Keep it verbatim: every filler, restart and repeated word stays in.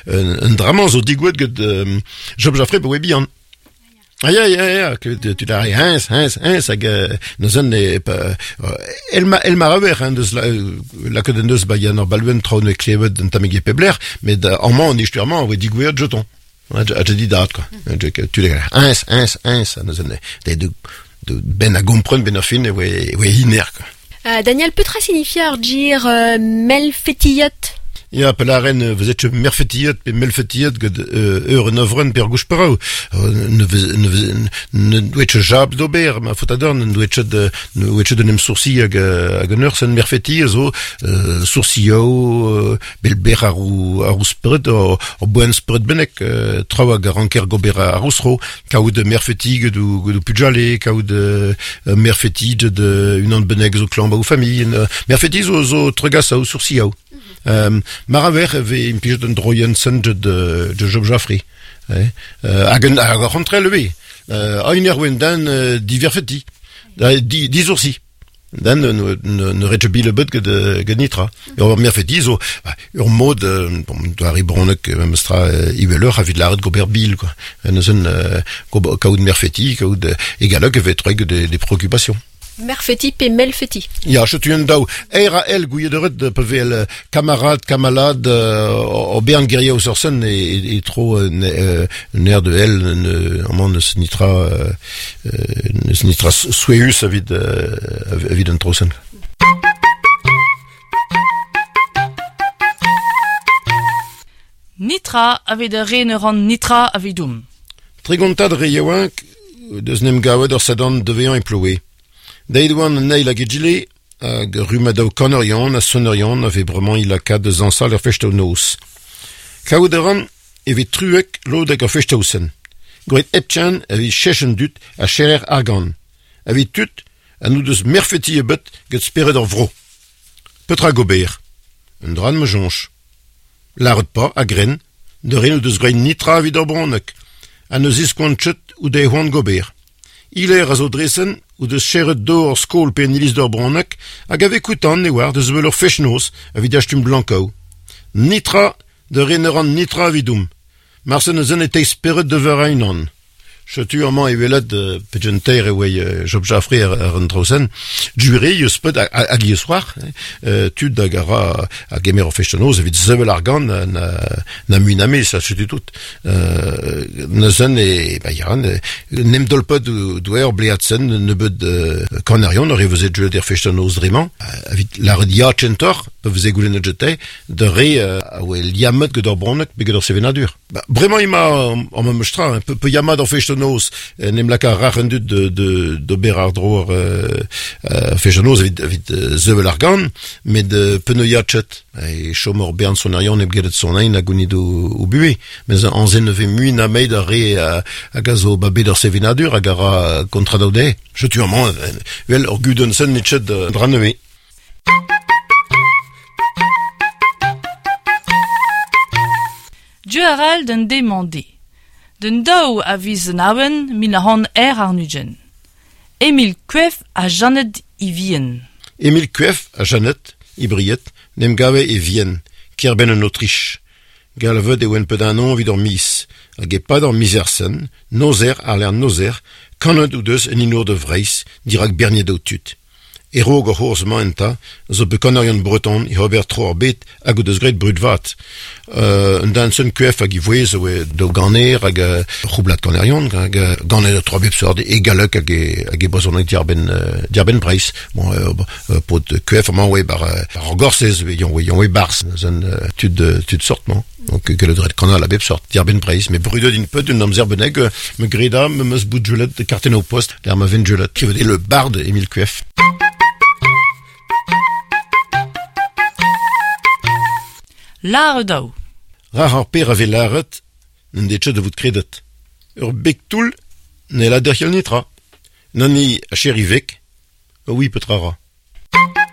un, un dramañ zo digouet get euh, Job Jaffré pe oe bihan. Ah ya, ya, ya, klevet tu da hens, hens, hens, hag neuzen e, el ma, el ma aver, hein, deus la, lakaet en deus ba yann ar baluen traoù ne klevet un tammig e pebler, met amañ an istuermañ oe digouet jeton. A te di dat, quoi. Tu le hens, hens, hens, neuzen de, de, de ben a gompren ben ar fin e oe, oe hiner, quoi. Uh, Daniel, petra signifie ar gir euh, melfetillot? Ya, pe laren, vous êtes merfetillot pe melfetillot get ur en ovren per gouch parau. Ne ne douet jab d'ober, ma fotador, ne douet de ne douet de nem sourci hag hag un ur sen merfeti zo sourcioù bel ber ar ar spred o boen spred benek traoù hag ranker gober ar ousro, kaout merfeti get ou get ou pujale, kaout merfeti de unan benek zo klan ba ou famille, merfeti zo zo tregas a ou sourcioù. Um, mar aver e implijet un droien sen de, de Job Jaffré. Eh? Uh, hag un hag ar c'hontrel eo. Uh, a un erwen dan uh, diverfeti. Da, di, dizoursi. Dan ne, ne, ne retche bile bet get, get nitra. Ur merfeti zo, ur mod, bon, doar ibronek, memestra, iweleur, a vid laret gober bil, quoi. Neuzen, uh, kaout merfeti, kaout egalek e vetreg des, des préoccupations. Merfeti pe melfeti. Ya, chetu un daou. Er a el gouiet pe vel kamarad, kamalad, o bern geria o sorsen e, e, e tro un air de el, amañ neus nitra, neus nitra soueus avid, avid un trosen. Nitra avid a re ne ran nitra avidoum. Tregontad re yaouank deus nem gavet ur sadan devean e ploue. Deit oan an eil hag egile, hag rumadaou kanerion ha sonerion ave bremañ il lakaat deus ansal ur festaou noz. Kaout a ran evit truek lod hag ur festaou sen. Gret eptchen evit chechen dut a cherer argan. Evit tut a nou deus merfeti ebet get spered ur vro. Petra gober. Un dran me jonch. Laret pa a gren, de re nou deus grein nitra evit ur bronek, a neus iskoant chet ou de hoan gober. Iler a zo dresen ou deus cheret do ur skol pe en iliz d'ur bronek hag ave koutan ne oar deus vel ur fechnoz evit achtum blankaou. Nitra de reneran nitra evidoum. Marsen eus en e speret de ver einan. Chetu amañ e welet pejen teir e oe Job Jaffré ar an trosen, djure eus pet hag eus c'hoar, tud hag a ra a gemer ur fechnoz evit zevel ar gant na, na mui na me, sa chetu tout. Neuzen e, ba yaran, nem dolpet douer bleatsen nebeud kanarion ur e veze djeuet er fechnoz dremañ, evit laret ya tchentor, pe veze goulennet jete, de re a oe liammet get ur bronek pe get ur sevenadur. Ba, bremañ ima an memes tra, pe, pe yamad ur fechnoz, nem laka rac'h un dud de, de, de ber ar dro euh, fechnoz evit, evit zevel ar gant, met peuneu ya tchet. E chom ur bern sonerion eb get son ein hag gounid o, o bue. Mez an zen neve mui na meid ar re hag a zo ba bet ur sevenadur hag a ra kontradaou de. Chetu amañ, wel ur gudenn sen nit chet dra nevez. Dieu aral d'un demandé. D'un daou a viz an awen mil a han er ar nugen. Emil Cueff a Jeannette i Vienne. Emil Cueff a Jeannette i Briet nem gave e Vienne, kerben en Autriche. Galvet e oen pet un an vid ur mis, hag e pad ur mizersen, nozer ar l'er nozer, kanet ou deus en inour de vreiz, dirak bernier daou tud. Erog ur c'hourz mañ enta, zo be kanarion breton i ober tro ar bet hag o deus graet brud vat. Euh, un dan sen kuef hag i vouez oe do ganer hag uh, c'houblat kanarion, hag uh, ganer tro bep sort e galek hag e, hag e brezhoneg diarbenn, uh, diarbenn Breiz. Bon, euh, euh, pot kuef amañ oe bar, bar ar gorsez, oe yon oe barz, zen uh, tud, tud sort, mañ. Donc, gellet dret kanal a bep sort, diarbenn Breiz, me brudet in peut un amzer beneg, me greda, me meus bout julet de karten au post, der ma ven julet, qui veut dire le barde Émile Cueff. Lare daou. Rar ar per ave laret, n'en det de vout kredet. Ur bek toull ne la derc'hel nitra. Nani a cherivek, oui petra ra.